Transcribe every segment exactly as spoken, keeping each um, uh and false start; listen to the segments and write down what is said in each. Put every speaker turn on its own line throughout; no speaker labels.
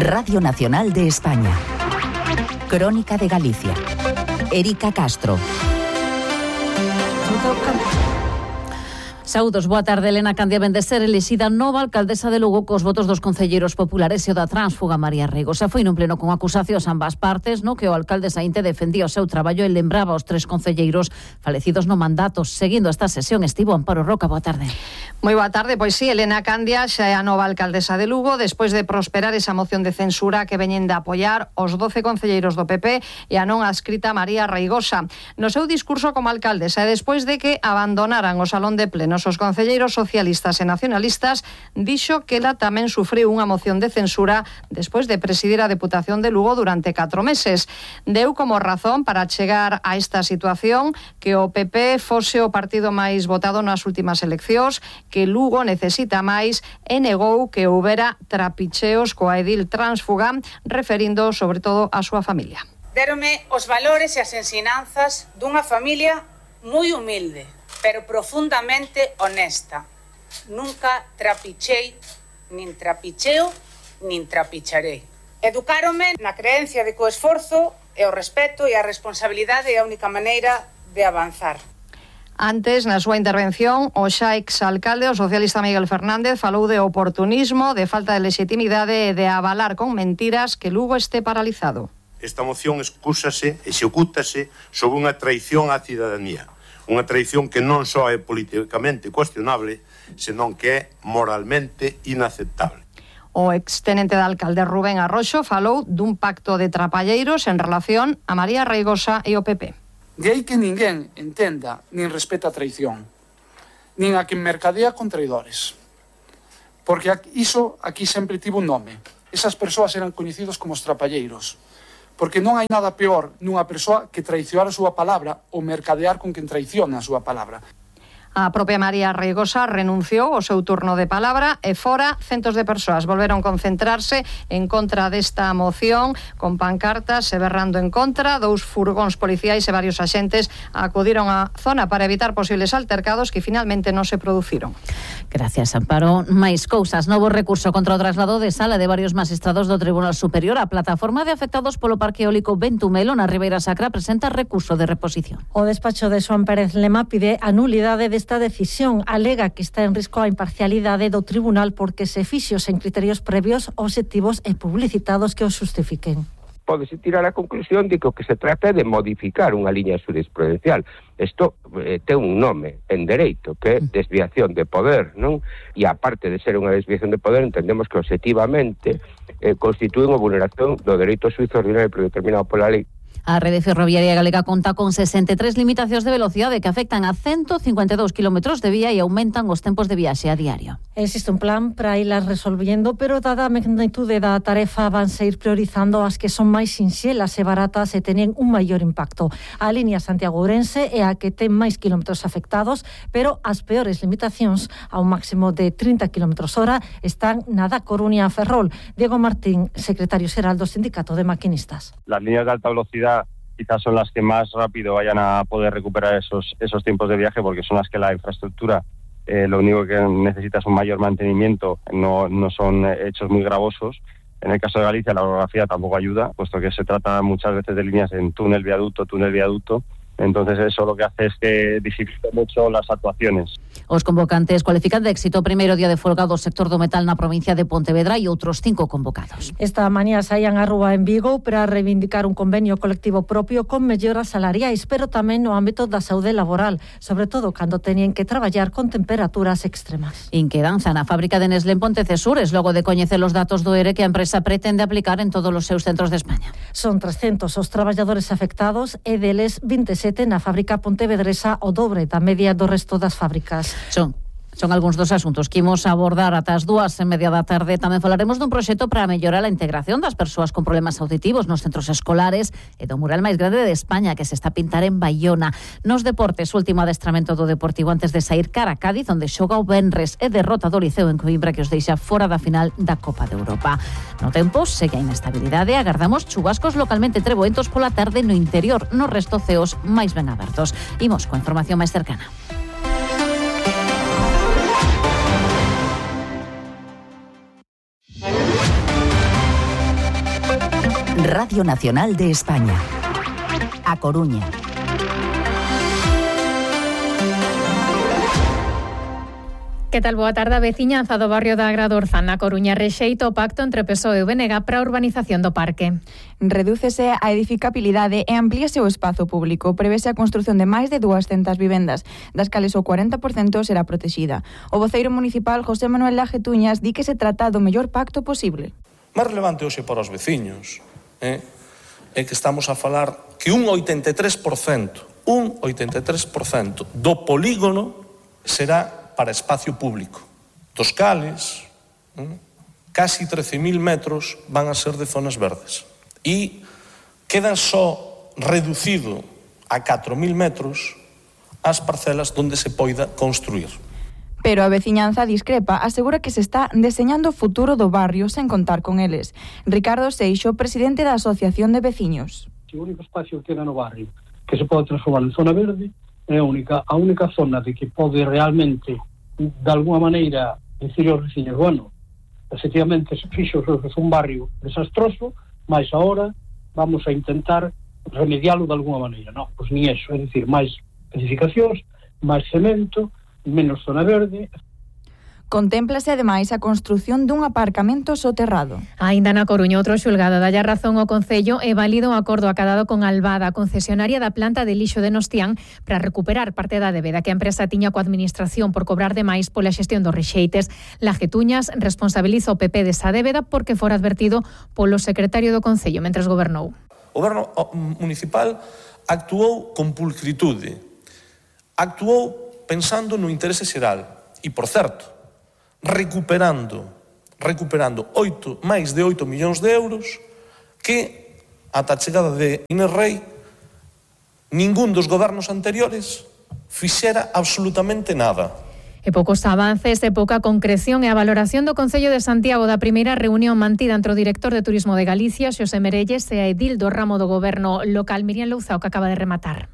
Radio Nacional de España. Crónica de Galicia. Erika Castro.
Saúdos, boa tarde. Elena Candia vén de ser elixida nova alcaldesa de Lugo cos votos dos concelleiros populares e o da tránsfuga María Reigosa. Foi nun pleno con acusacións ambas partes, no que o alcalde Saínte defendía o seu traballo e lembraba aos tres concelleiros falecidos no mandato. Seguindo esta sesión estivo Amparo Roca. Boa tarde.
Moi boa tarde. Pois sí, Elena Candia xa é a nova alcaldesa de Lugo despois de prosperar esa moción de censura que veñen de apoiar os doce concelleiros do P P e a non adscrita María Reigosa. No seu discurso como alcaldesa e despois de que abandonaran o salón de plenos os concelleiros socialistas e nacionalistas, dixo que ela tamén sufriu unha moción de censura despois de presidir a Deputación de Lugo durante catro meses. Deu como razón para chegar a esta situación que o P P fose o partido máis votado nas últimas eleccións, que Lugo necesita máis e negou que houbera trapicheos coa edil tránsfuga, referindo sobre todo a súa familia.
Dérome os valores e as ensinanzas dunha familia moi humilde, pero profundamente honesta. Nunca trapichei, nin trapicheo, nin trapicharei. Educáronme na creencia de que o esforzo e o respeto e a responsabilidade é a única maneira de avanzar.
Antes, na súa intervención, o xa exalcalde, o socialista Miguel Fernández, falou de oportunismo, de falta de legitimidade e de avalar con mentiras que Lugo este paralizado.
Esta moción excúsase, execútase sobre unha traición á cidadanía. Unha traición que non só é políticamente cuestionable, senón que é moralmente inaceptable.
O extenente de alcalde Rubén Arroxo falou dun pacto de trapalleiros en relación a María Reigosa e o P P.
De aí que ninguén entenda nin respeta a traición, nin a que mercadea con traidores. Porque iso aquí sempre tivo un nome. Esas persoas eran coñecidos como os trapalleiros. Porque non hai nada peor nunha persoa que traicionar a súa palabra ou mercadear con quen traiciona a súa palabra.
A propia María Reigosa renunciou ao seu turno de palabra e fora centos de persoas volveron concentrarse en contra desta moción con pancartas e berrando en contra. Dous furgóns policiais e varios axentes acudiron á zona para evitar posibles altercados que finalmente non se produciron.
Gracias, Amparo. Mais cousas. Novo recurso contra o traslado de sala de varios magistrados do Tribunal Superior. A plataforma de afectados polo Parque Eólico Ventumelo na Ribeira Sacra presenta recurso de reposición.
O despacho de Xoán Pérez Lema pide a nulidade de esta decisión. Alega que está en risco a imparcialidade do tribunal porque se fixo sen criterios previos, obxectivos e publicitados que os justifiquen.
Pódese tirar a conclusión de que o que se trata é de modificar unha liña jurisprudencial. Isto eh, ten un nome en dereito, que é desviación de poder, non? E aparte de ser unha desviación de poder, entendemos que obxectivamente eh, constitúe unha vulneración do dereito suízo ordinario predeterminado pola lei.
A Rede Ferroviaria Galega conta con sesenta e tres limitacións de velocidade que afectan a ciento cincuenta e dous kilómetros de vía e aumentan os tempos de viaxe a diario.
Existe un plan para irlas resolvendo, pero dada a magnitude da tarefa vanse ir priorizando as que son máis sinxelas e baratas e teñen un maior impacto. A liña Santiago-Ourense é a que ten máis kilómetros afectados, pero as peores limitacións, a un máximo de trinta kilómetros hora, están na da Coruña a Ferrol. Diego Martín, secretario xeral do Sindicato de Maquinistas.
Las líneas de alta velocidad quizás son las que más rápido vayan a poder recuperar esos esos tiempos de viaje, porque son las que la infraestructura eh, lo único que necesita es un mayor mantenimiento, no, no son hechos muy gravosos. En el caso de Galicia la orografía tampoco ayuda, puesto que se trata muchas veces de líneas en túnel, viaducto, túnel, viaducto. Entonces eso lo que hace es que dificulte mucho las actuaciones.
Os convocantes cualifican de éxito o primeiro día de folga do sector do metal na provincia de Pontevedra e outros cinco convocados.
Esta mañá saían a rúa en Vigo para reivindicar un convenio colectivo propio con melloras salariais, pero tamén no ámbito da saúde laboral, sobre todo cando teñen que traballar con temperaturas extremas.
Inquedanza na fábrica de Nestlé en Pontecesures, logo de coñecer os datos do E R E que a empresa pretende aplicar en todos os seus centros de España.
Son trescentos os traballadores afectados e deles vinte e sete na fábrica pontevedresa, o dobre da media do resto das fábricas.
Son Son algúns dos asuntos que imos abordar ata as dúas e media da tarde. Tamén falaremos dun proxecto para mellorar a integración das persoas con problemas auditivos nos centros escolares e do mural máis grande de España que se está a pintar en Baiona. Nos deportes, o último adestramento do Deportivo antes de sair cara a Cádiz, onde xoga o venres e derrota do Liceo en Coimbra que os deixa fora da final da Copa de Europa. No tempo, segue a inestabilidade, agardamos chubascos localmente treboentos pola tarde no interior, no resto ceos máis ben abertos. Imos coa información máis cercana.
Radio Nacional de España. A Coruña.
Que tal? Boa tarde. A veciñanza do barrio da Agradorza na Coruña rexeita o pacto entre P S O E e o B N G para a urbanización do parque.
Redúcese a edificabilidade e amplíase o espazo público. Prevese a construción de máis de duascentas vivendas, das cales o cuarenta por cento será protexida. O voceiro municipal José Manuel Lajetuñas di que se trata do mellor pacto posible.
Máis relevante hoxe para os veciños eh, é que estamos a falar que un oitenta e tres por cento, un oitenta e tres por cento do polígono será para espacio público, dos cales eh, casi trece mil metros van a ser de zonas verdes e quedan só reducido a catro mil metros as parcelas onde se poida construir.
Pero a veciñanza discrepa, asegura que se está deseñando o futuro do barrio sen contar con eles. Ricardo Seixo, presidente da Asociación de Veciños.
O único espacio que queda no barrio que se pode transformar en zona verde é a única, a única zona de que pode realmente, de alguma maneira, decir aos veciños, bueno, efectivamente se fixo un barrio desastroso, mas agora vamos a intentar remedialo de alguma maneira. Non, pois ni eso, é dicir, máis edificacións, máis cemento, menos zona verde.
Contémplase ademais a construción dun aparcamento soterrado.
Aínda na Coruña, outro xulgado dalle razón ao Concello e válido un acordo acadado con Albada, a concesionaria da planta de lixo de Nostián, para recuperar parte da débeda que a empresa tiña coa administración por cobrar demais pola xestión dos rexeites. Lajetuñas responsabiliza o P P desa débeda porque fora advertido polo secretario do Concello mentres gobernou.
O goberno municipal actuou con pulcritude, actuou pensando no interese xeral e, por certo, recuperando recuperando oito, máis de oito millóns de euros que, ata a chegada de Inés Rei, ningún dos gobernos anteriores fixera absolutamente nada.
E poucos avances e pouca concreción e a valoración do Concello de Santiago da primeira reunión mantida entre o director de Turismo de Galicia, Xosé Merelles, e a edil do ramo do goberno local, Miriam Louzao, que acaba de rematar.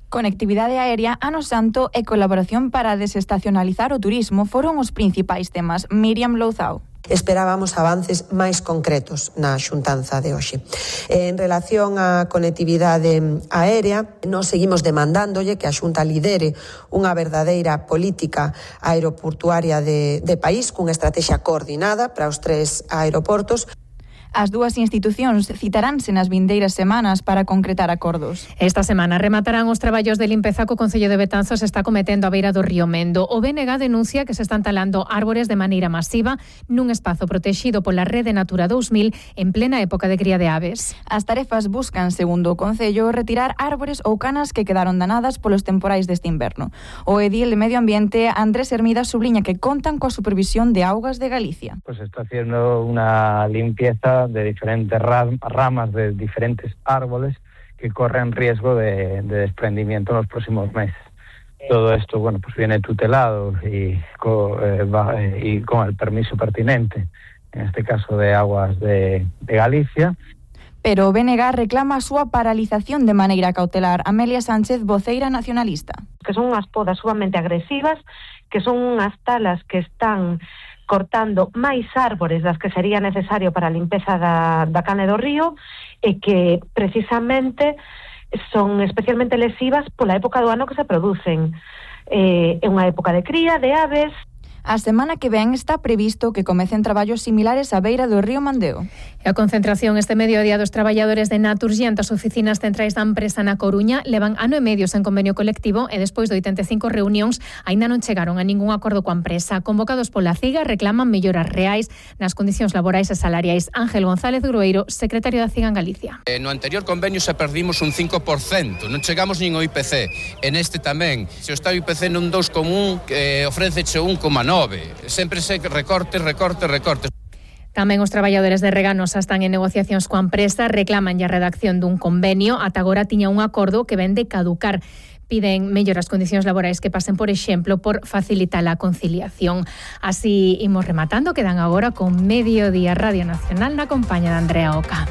Conectividade aérea, Ano Santo e colaboración para desestacionalizar o turismo foron os principais temas. Miriam Louzao.
Esperábamos avances máis concretos na xuntanza de hoxe. En relación á conectividade aérea, nós seguimos demandándolle que a Xunta lidere unha verdadeira política aeroportuaria de, de país cunha estrategia coordinada para os tres aeroportos.
As dúas institucións citaránse nas vindeiras semanas para concretar acordos.
Esta semana rematarán os traballos de limpeza que o Concello de Betanzos está cometendo a beira do río Mendo. O B N G denuncia que se están talando árbores de maneira masiva nun espazo protexido pola Rede Natura dous mil en plena época de cría de aves.
As tarefas buscan, segundo o Concello, retirar árbores ou canas que quedaron danadas polos temporais deste inverno. O edil de Medio Ambiente, Andrés Hermida, subliña que contan coa supervisión de Augas de Galicia.
Pues está haciendo una limpieza de diferentes ramas de diferentes árboles que corren riesgo de, de desprendimiento en los próximos meses. Todo esto, bueno, pues viene tutelado y con, eh, va, y con el permiso pertinente, en este caso de Aguas de, de Galicia.
Pero o B N G reclama a súa paralización de maneira cautelar. Amelia Sánchez, voceira nacionalista.
Que son unhas podas sumamente agresivas, que son unhas talas que están cortando máis árbores das que sería necesario para a limpeza da, da cane do río e que precisamente son especialmente lesivas pola época do ano que se producen. É eh, unha época de cría de aves.
A semana que ven está previsto que comecen traballos similares á beira do río Mandeo.
E a concentración este mediodía dos traballadores de Naturgy as oficinas centrais da empresa na Coruña levan ano e medio sen convenio colectivo e despois de oitenta e cinco reunións aínda non chegaron a ningún acordo coa empresa. Convocados pola CIGA reclaman melloras reais nas condicións laborais e salariais. Ángel González Grueiro, secretario da CIGA en Galicia.
Eh, no anterior convenio se perdimos un cinco por cento, non chegamos nin ao I P C. En este tamén, se está o I P C nun dous coma un, eh, ofréceche un coma nove. Sempre se recortes, recortes, recortes.
Tamén os traballadores de Reganosa están en negociacións coa empresa, reclaman a redacción dun convenio, ata agora tiña un acordo que ven de caducar. Piden melloras condicións laborais que pasen, por exemplo, por facilitar a conciliación. Así imos rematando, quedan agora con Mediodía Radio Nacional na compañía de Andrea Oca.